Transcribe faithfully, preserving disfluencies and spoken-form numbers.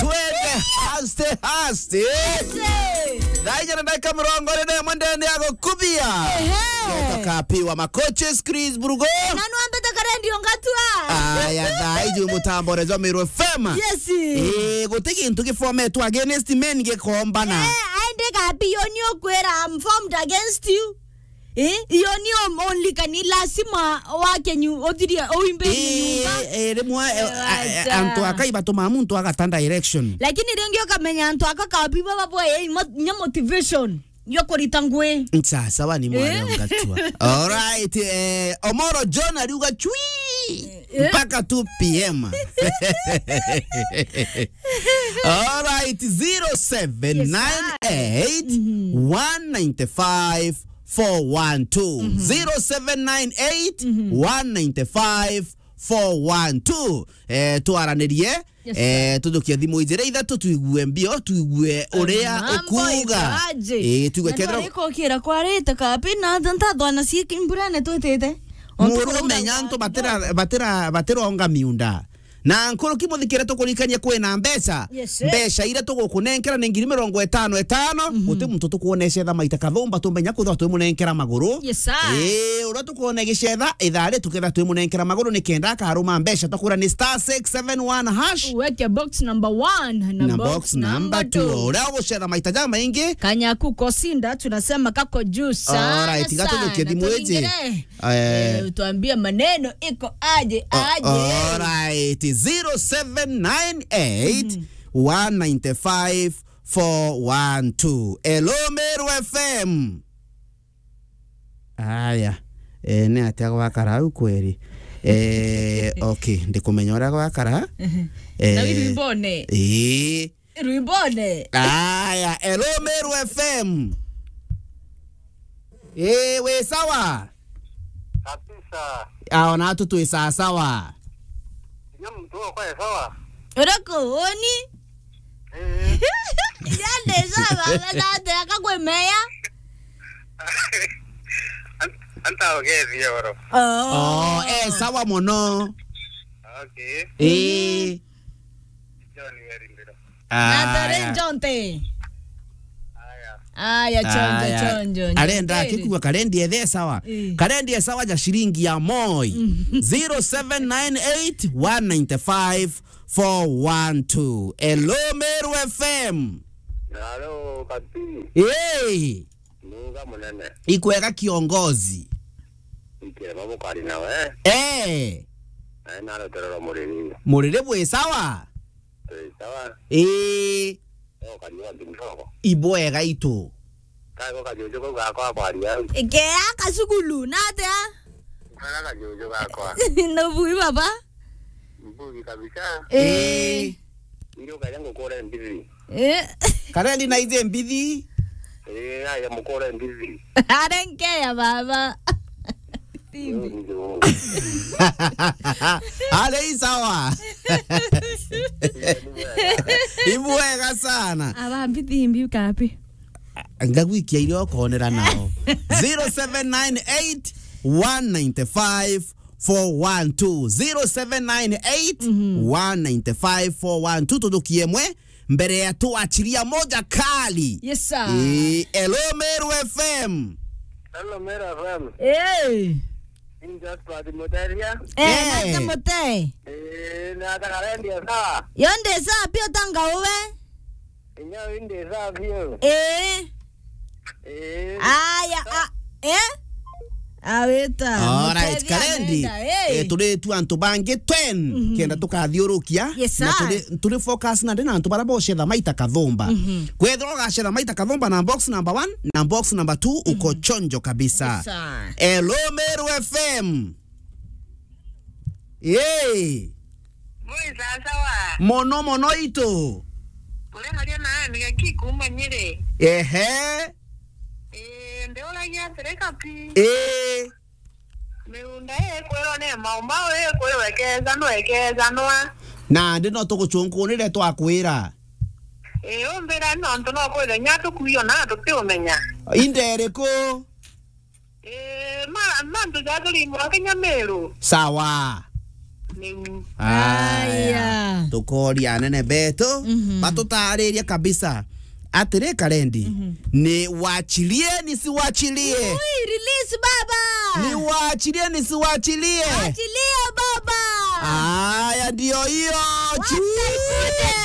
Twende haste, haste. Thaa inya na ndagika mirongo iri na imwe ndene ya gukubia. Ehe. Ngeto kapi wa makoches, Chris Brugo. Na nwambete karendi ongatua. Aya, thaa iji mutambo rezo Meru F M. Yes. Eh, guti gintu gifometwe against men gikombana. Eh, aende kapi, yo ni ukwira, I'm formed against you. Eh, iyo ni om-, only kani lazima wake nyu-, uthirie uimbe nyumba. Eh, eh, rimwe, eh, eh, a-, a-, acha. Antu aka ibatuma muntu agata direction. Lakini ringi ukamenya antu aka kapi baba bwe, eh, mo-, nya motivation yo kurita ngui. Ncha, sawa ni mwari ongatua. All right, eh, Omoro John ariuga chui. Eh. Mpaka two P M. All right, zero seven nine eight, one nine five, four one two. Zero seven nine eight, one nine five, four one two. Eh, twaranirie, yes, sir, eh, tujukie thimu ijiri ithatu, tuigue mbio, tuigue uria ukuuga. Eh, tuigue kethira arikokira kwarite kapi na ntathwana cie mbura netwitite. Muru menya antu batira, batira, batironga miunda. Na nkuruki muthikire tukurikania kwina mbeca. Yes, sir. Mbeca iria tugukunenkera ni ngiri mirongo itano itano. Guti muntu tukuonesha etha maita kathumba tumenya kwithirwa twimunenkera maguru. Yes, sir. Ii, uria tukuona igicetha, ithaa ri tuketha twimunenkera maguru ni kenda akaruma mbeca, twakwira ni star six seven one hash. Weke box number one na box number two. Uria ugucetha maita jamaingi. Kanyaku Kosinda, tunasema kako juu sana. Alright, tiga tujukie thimu iji. Eh. Eh, utuambie maneno iko aje, aje. Alright, zero seven nine eight, one nine five, four one two. Hello, Meru F M. Aya. Eh, ni atia gwakara au kweri? Eh, okay, ndikumenya uria gwakara. Na eh, wimbo ne? Eh. Rwimbo ne? Aya, hello, Meru F M. Eh, wi sawa? Kabisa. Ah, ona tu twi sawa sawa. Ndio mtu wako ya sawa? Urako, oni? Eh. Yande sawa, na te akakwemeya. An-, anta ogezi yoro. Oh. Oh, eh, sawa mono. Okay. Eh. John Werindiro. Natare Jonte. Aya. Aya, chonjo, aya, chonjo. Arenda akikua karendi ethe sawa. Eh. Karendi e sawa ja shilingi ya moi. Mm. Zero seven nine eight, one nine five, four one two. Hello, Meru F M. Hello, Kati. Hey. Nuga munene. Ikwega kiongozi. Ikirema bukari nawe. Eh. Nae narotererwa muriri. Muriri bwi sawa? Twi sawa. Ii. Okari wa kidogo. Ibwega itu. Kago kajuju kau gakwa kwaria. Ikea kasukulu, natia? Kaga kajuju gakwa. Nubui baba? Mbugi kabisa. Ii. Ndio kaja ngukure mbithi. Eh. Karendi na ije mbithi. Eh, aya mukore mbithi. Arenkeya baba. Timbi. Ndio. Ale isawa. Ibwega sana. Aba mbithi mbi kapi. Ngagwikia irio konera nao. Zero seven nine eight, one nine five, four one two. Zero seven nine eight, one nine five, four one two. Tujukie mwe mbere ya tuachilia moja kali. Yes, sir. Eh, hello, Meru F M. Hello, Meru F M. Eh. Ni Jasper Timoteria. Eh, eh. Natia Mutei. Eh, na Karendi sawa? Yo ndi sawa pia, utanga uwe? Inyo ndi sawa pia. Eh. Eh. Aya, a, eh? Awita. Alright, Mutethia Karendi. Nenda, eh. Eh, turi tu antu bangi ten, kenda tukathiurukia. Yes, sir. Na turi, turi focus na ndina antu bara bocetha maita kathumba. Kwethirwa ugacetha maita kathumba na box number one na box number two, uko chonjo kabisa. Yes, sir. Hello, Meru F M. Ii. Mwi sawa sawa. Mono mono itu. Kuri haria naani gaki kuma Nyeri. Ehe. Ii, ndiuragia atiri Kapi. Ii. Miunda ii kwirwa ni maumau, ii kwirwa ikeejanwa, ikeejanwa. Nandi no tugucunkunire twakwira. Ii, umbira nontu no kwithwe nya tukuio na tutiumenya. Inde iriku? Ii, ma-, mantu jathuri mwa Kenya Meru. Sawa. Niu. Aya. Aya. Tukoria anene betu, mhm, batutaririe kabisa. Atiri Karendi, mhm, ni wachilie ni siwachilie? Ui, release baba. Ni wachilie ni siwachilie? Achilia baba. Aya, ndio hiyo. Wacha ikuje.